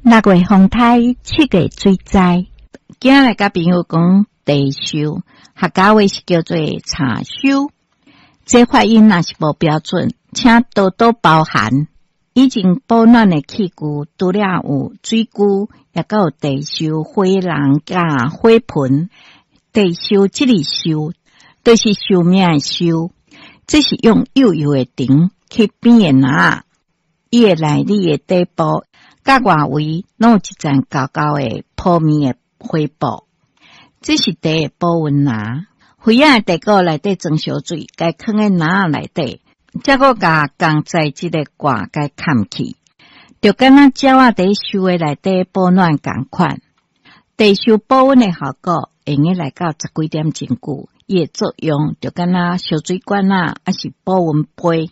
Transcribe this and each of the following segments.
六月風颱，七月水災。今仔來佮朋友講茶泅，客家話是叫做茶泅。這發音若是無標準，請多多包涵。以前保暖的器具，除了有水龜，也閣有茶泅、火籠佮火盆。茶泅這个壽，就是壽命的壽。這是用幼幼的藤去編的籃仔，伊的內裡的底部佮外圍攏有一層厚厚的鋪面的花布。這是茶的保溫籃。花仔的茶果內底裝燒水，共囥佇籃仔內底，才閣共仝材質的蓋共崁起，就敢若鳥仔佇泅的內底保暖仝款。茶泅保溫的效果，會用來到十幾點鐘久。伊的作用就敢若燒水罐仔，抑是保溫杯。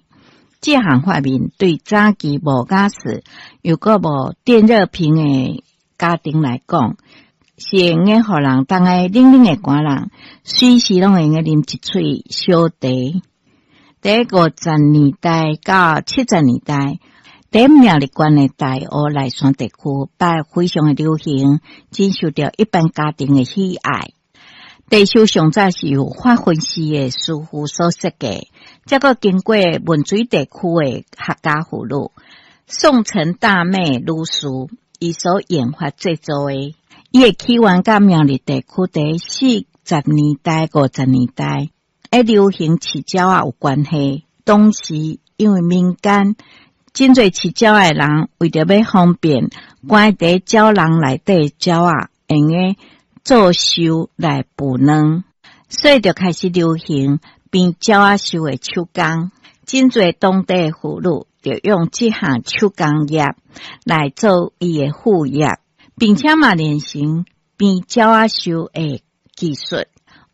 這項發明對早期無瓦斯又閣無電熱瓶的家庭來講，是會用得予人當下冷冷的寒人，隨時攏會用得啉一喙燒茶。佇50年代到70年代，佇苗栗縣的大湖內山地區，擺非常的流行，真受著一般家庭的喜愛。茶泅上早是由發粉絲的師傅所設計，才閣經過汶水地區的客家婦女宋陳大妹女士，伊所研發製作的。伊的起源佮苗栗地區佇40年代、50年代，會流行飼鳥仔有關係。當時因為民間真濟飼鳥仔的人，為著欲方便關佇鳥籠內底鳥仔，會用得做泅來孵卵，所以就開始流行編鳥仔泅的手工。真濟當地的婦女就用這項手工業來做伊的副業，並且嘛練成編鳥仔泅的技術。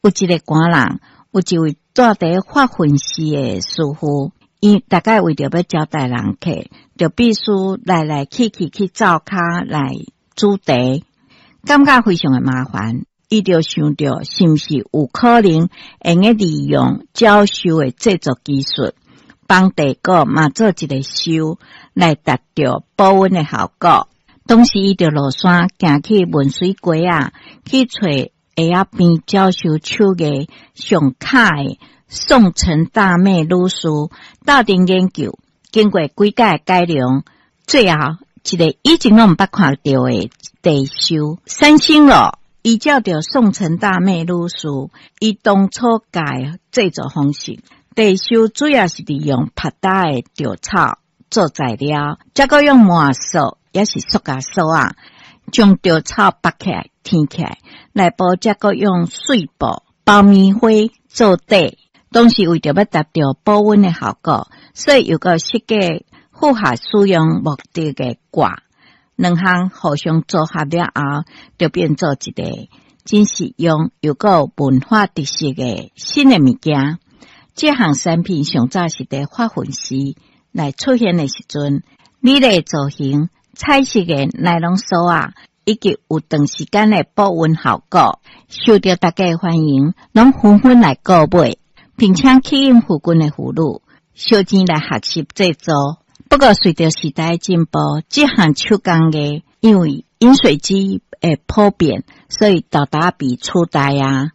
有一个寒人，有一位住佇發奮寺的師傅，伊大概為著欲招待人客，就必須來來去去去灶跤來煮茶。感覺非常的麻煩，伊就想著是毋是有可能會用得利用鳥泅的製作技術，幫茶果嘛做一个泅來達到保溫的效果。當時伊就落山行去汶水街仔，去揣會曉編鳥泅手藝上巧的宋陳大妹女士，鬥陣研究，經過幾改改良，最後一个以前攏毋捌看著的茶泅產生咯。依照著宋陳大妹女士伊當初教的製作方式，茶泅主要是利用曝焦的稻草做材料，才閣用麻索抑是塑膠索仔，將稻草縛起來、纏起來，內部才閣用碎布包棉花做底。當時為著欲達到保溫的效果，所以又閣設計符合使用目的的蓋，兩項互相組合了後，就變做一個真實用又閣有文化特色的新的物件。這項產品上早是佇發奮寺來出現的時陣，美麗造型、彩色的尼龍索仔，以及有長時間的保溫效果，受著大家的歡迎，攏紛紛來購買，並且吸引附近的婦女相爭來學習製作。不過，隨著時代進步，這項手工藝因為飲水機的普遍，所以沓沓被取代啊。